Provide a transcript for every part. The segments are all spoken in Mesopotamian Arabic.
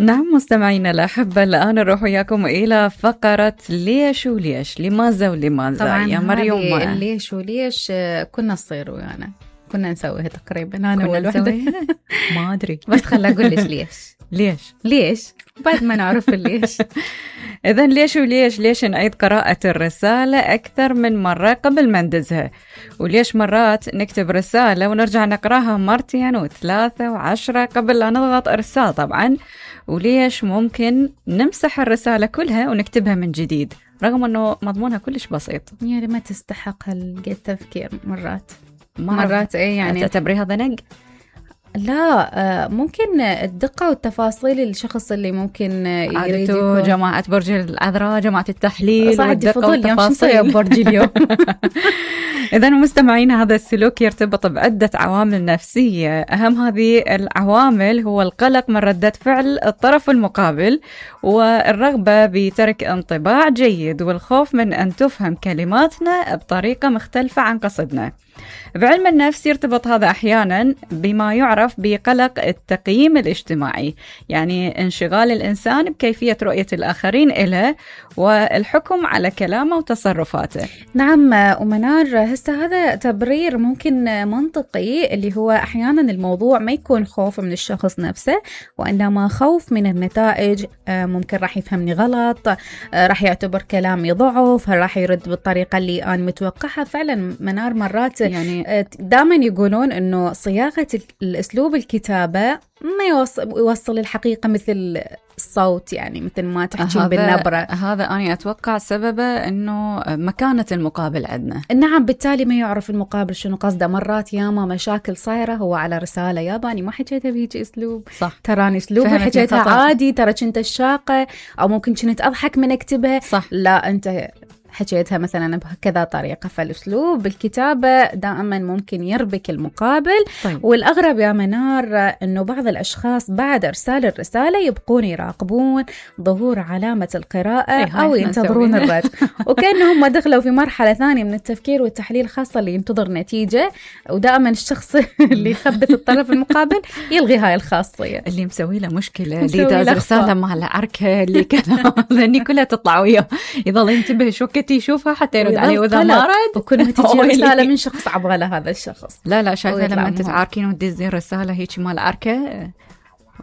نعم مستمعينا الأحبة، الآن نروح وياكم إلى فقرة ليش وليش، لماذا ولماذا. طبعا يا مريم ليش وليش كنا نصير ويانا كنا نسويها تقريبا أنا كنا والوحدة ما أدري بس خلنا أقول ليش ليش بعد ما نعرف ليش. إذن ليش وليش؟ ليش نعيد قراءة الرسالة أكثر من مرة قبل ما ندزها؟ وليش مرات نكتب رسالة ونرجع نقراها مرتين وثلاثة وعشرة قبل لا نضغط إرسال طبعا؟ وليش ممكن نمسح الرسالة كلها ونكتبها من جديد رغم أنه مضمونها كلش بسيط؟ يعني ما تستحق التفكير مرات إيه يعني تعتبريها ضنق؟ لا ممكن الدقة والتفاصيل الشخص اللي ممكن يريد يكون جماعة برج العذراء، جماعة التحليل والدقة والتفاصيل برج اليوم. إذن مستمعين، هذا السلوك يرتبط بعدة عوامل نفسية. أهم هذه العوامل هو القلق من ردة فعل الطرف المقابل، والرغبة بترك انطباع جيد، والخوف من أن تفهم كلماتنا بطريقة مختلفة عن قصدنا. بعلم النفس يرتبط هذا أحيانا بما يعرف بقلق التقييم الاجتماعي، يعني انشغال الإنسان بكيفية رؤية الآخرين له والحكم على كلامه وتصرفاته. نعم ومنار، هسه هذا تبرير ممكن منطقي، اللي هو أحيانا الموضوع ما يكون خوف من الشخص نفسه وإنما خوف من النتائج. ممكن راح يفهمني غلط، راح يعتبر كلامي ضعف، راح يرد بالطريقة اللي أنا متوقعها. فعلا منار مرات يعني دائما يقولون إنه صياغة الأسلوب الكتابة ما يوصل الحقيقة مثل الصوت، يعني مثل ما تحكين بالنبرة. هذا أنا أتوقع سببه إنه مكانة المقابل عندنا. نعم، بالتالي ما يعرف المقابل شنو قصده. مرات ياما مشاكل صايرة هو على رسالة ياباني ما حكيتها بهيك أسلوب، صح، تراني أسلوبي حكيتها عادي، ترى كنت الشاقة أو ممكن كنت أضحك من أكتبها، صح، لا أنت حكيتها مثلا بكذا طريقة. فالأسلوب بالكتابة دائما ممكن يربك المقابل. طيب. والأغرب يا منار أنه بعض الأشخاص بعد إرسال الرسالة يبقون يراقبون ظهور علامة القراءة أو ينتظرون الرد، وكأنهم دخلوا في مرحلة ثانية من التفكير والتحليل خاصة اللي ينتظر نتيجة. ودائما الشخص اللي يخبث الطرف المقابل يلغي هاي الخاصية. اللي مسوي له مشكلة، اللي داز رسالة مع العركة، اللي كذا ذني كلها تطلع وياه، يظل ينتبه شو كنت يشوفها حتى يرد عليه، وإذا ما رد وكلها تجي رسالة من شخص عبغى لهذا الشخص. لا شايفة لما تتعاركين وتدزين رسالة هيك مال عركة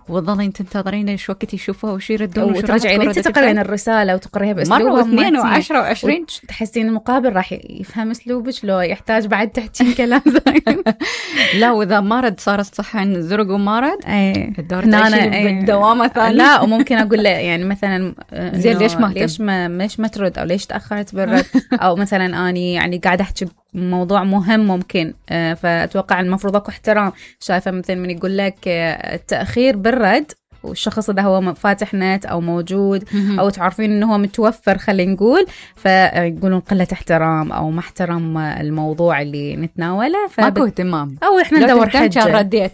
وظلين تنتظرين شو وقت يشوفوها وش يردون، وترجعين انت تقرين الرساله وتقريها باسلوبها مره واثنين وعشرة وعشرين، تحسين المقابل راح يفهم اسلوبك لو يحتاج بعد تحكين كلام زين. لا واذا ما رد صار صحن زرق وما رد الدور بالدوامه ثانيه. لا وممكن اقول له يعني مثلا زين ليش ما ترد او ليش تاخرت بالرد، او مثلا اني يعني قاعده احكي موضوع مهم ممكن، فأتوقع المفروض أكو احترام. شايفة مثل من يقول لك التأخير بالرد والشخص ده هو فاتح نت أو موجود أو تعرفين إنه هو متوفر، خلينا نقول، فيقولون قلة احترام أو ما احترم الموضوع اللي نتناوله، ماكو اهتمام أو إحنا ندور حجة. رديت.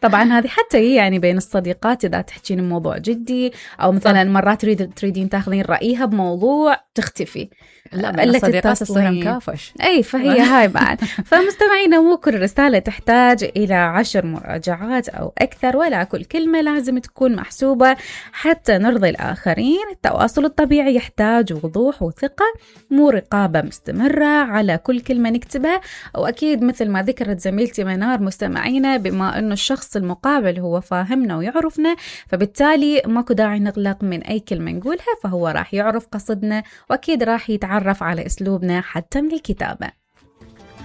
طبعا هذه حتى يعني بين الصديقات إذا تحكين الموضوع جدي، أو مثلا مرات تريدين تاخذين رأيها بموضوع تختفي، لا الصديقات تصير مكافش. أي فهي هاي بعد. فمستمعينا مو كل رسالة تحتاج إلى 10 مراجعات أو أكثر، ولا كل كلمة لازم تكون محسوبة حتى نرضي الآخرين. التواصل الطبيعي يحتاج وضوح وثقة، مو رقابة مستمرة على كل كلمة نكتبها. وأكيد مثل ما ذكرت زميلتي منار مستمعينا، بما أنه الشخص المقابل هو فاهمنا ويعرفنا، فبالتالي ماكو داعي نقلق من أي كلمة نقولها، فهو راح يعرف قصدنا وأكيد راح يتعرف على أسلوبنا حتى من الكتابة.